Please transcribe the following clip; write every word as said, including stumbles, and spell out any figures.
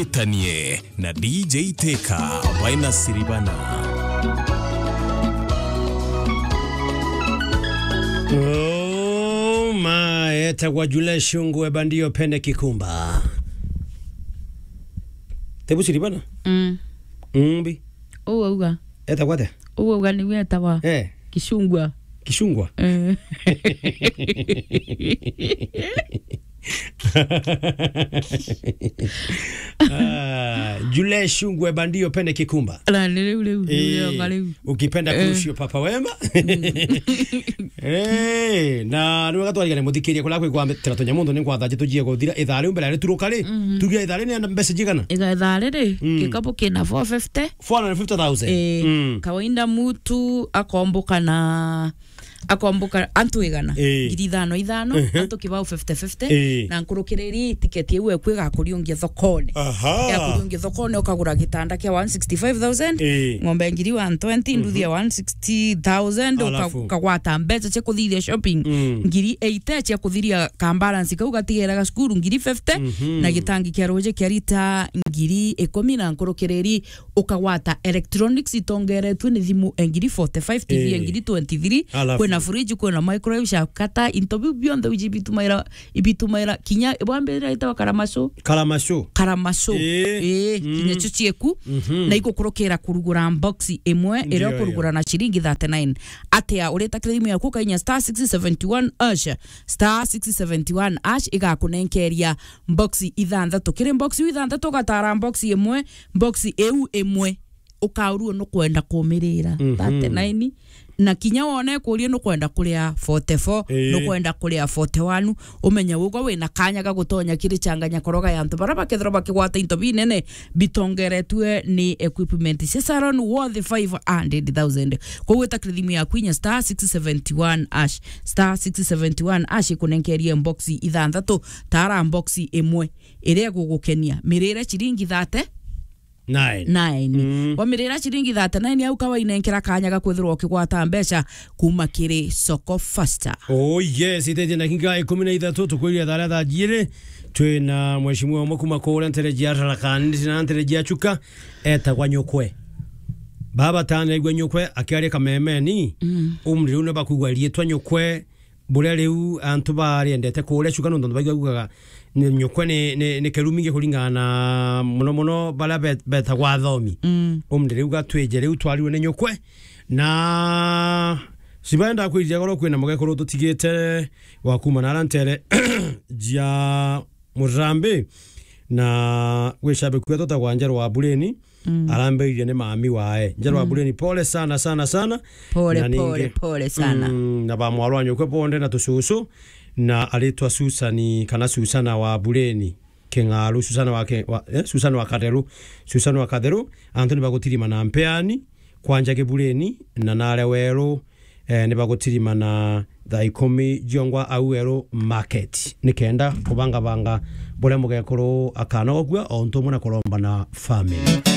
Itanie na D J Teka, baina Siribana. Oh my, etagwa Jule Shungu, eba ndio pende kikumba. Tebu Siribana? Mm. Mbi. Uu auga. Etagwa atia? Uu auga niwe etagwa. Eh. Kishungwa. Kishungwa? Eh. Ah, Jule Shungwe bandio pende kikumba. Na ni riu, riu, riu, Eh, riu, riu. Ukipenda Eh. Crucio Papa Wema. Eh, na ni wega twarigane muthikiria kula kwigwa tira tunya mundu ni kwatha jitu jie guthira ithaa riu mbere ya rituruka ri. Mhm. Tugia ithaa ri ni enda mbeca jigana? Iga ithaa riri, Mm. gikabu kina four fifty. Four hundred fifty thousand. Eh, Mm. Kawaida mutu akomboka na akomboka antu igana, Eh. ngiri ithano ithano, Ehe. antu kibao fifty fifty, Eh. na nkurukiriri tiketi iu eku igakuriungia thokone. Aha. Igakuriungia thokone, ukagura gitanda kia one sixty-five thousand, Eh. ng'ombe ngiri one twenty, Mhm. nduthi ya one sixty thousand, uka-, Alafu. ukagwata mbeca cia kuthithia shopping, Mm. ngiri eighty cia kuthiria ka balance kau gatigeraga cukuru, ngiri fifty, Mhm. na gitangi kia ruji kia rita ngiri ikumi na nkurukiriri ukagwata electronics itongeretue ni thimu engiri forty-five, T V Eh. engiri twenty-three, Alafu. kwina fridge, kwina microwave, shakata, into biu bionthe uji ibitumaira, ibitumaira kinya bwambirira itawa karamacu. Karamacu. Karamacu. Eh. Eh, Mm. kinya cio cieku. Mhm. Na igukurukira kurugura box imwe, iria Ndio, ukurugura ndio. na ciringi thirty-nine. Atia, urita kiri thimu yaku ukainya star six seventy-one hash, star six seventy-one hash igakunenkeria box ithanthatu. Kiri box iu ithanthatu ugatara box imwe, box iu imwe ukaurua nukwenda kumirira Mhm. thirty-nine, na kinya wone kuria nukwenda kuria forty-four, Ii. nukwenda kuria forty-one, umenye ugwa wina kanya ga gutonya kiri changanya koroga ya antu bara bakethirwa bakigwata into binene bitongeretue ni equipment cia salon worth five hundred thousand. Koguo wita kiri thimu yaku inya star six seventy-one hash, star six seventy-one hash ikunenkerie box ithanthatu, tara box imwe iria igugukenia, mirire ciringi thirty-nine. Nine. Mm. Wamirira ciringi thirty-nine au kawainenkera kanya ga kwithirwa ukigwata mbeca kuma kiri Soko Faster. Oh yes, iteje na kinga ikumi na ithatu, tukwiria thara thaa jiri. Twina mheshimiwa umwe kuma kuria ntere jia Tharaka Nithi na ntere jia Chuka, etagwa Nyukwe. Baba tani aigua Nyukwe akiaria kamemeni, Mm. umri riu ni bakugwa riitwa Nyukwe, buria riu antu bariendete kuria Chuka nontu antu baigua kugaga ni Nyukwe ni, ni, ni kirumi ngi kuringana na muno muno baria be-, betagwa athomi. Mm. Umri riu gatwije riu twarirwe ni Nyukwe. Na sibaenda kwirija goro kwina mugekuru tutigite wa kuma na ara ntere jia Murambi, na gwi shabiki wetu etagwa Njerwa wa Bureni, Mm. arambiririe ni mami wae. Njerwa wa Mm. Bureni, pole sana, sana, sana. Pole, Na ningi, pole, pole sana. Mm, na ba mwarwa Nyukwe bonde na tucucu, na aritwa Susani kana Susana wa Bureni. King'aru, Susana wa Ke-, wa, eh, Susana wa Katheru. Susana wa Katheru, antu ni bagutirima na mpeani, kwanja Kibureni, na nare weru, eh, ni bagutirima na thaa ikumi jiongwa au weru market. Nikenda kubangabanga buria mugekuru akanogokua, o untu umwe na kuromba na family.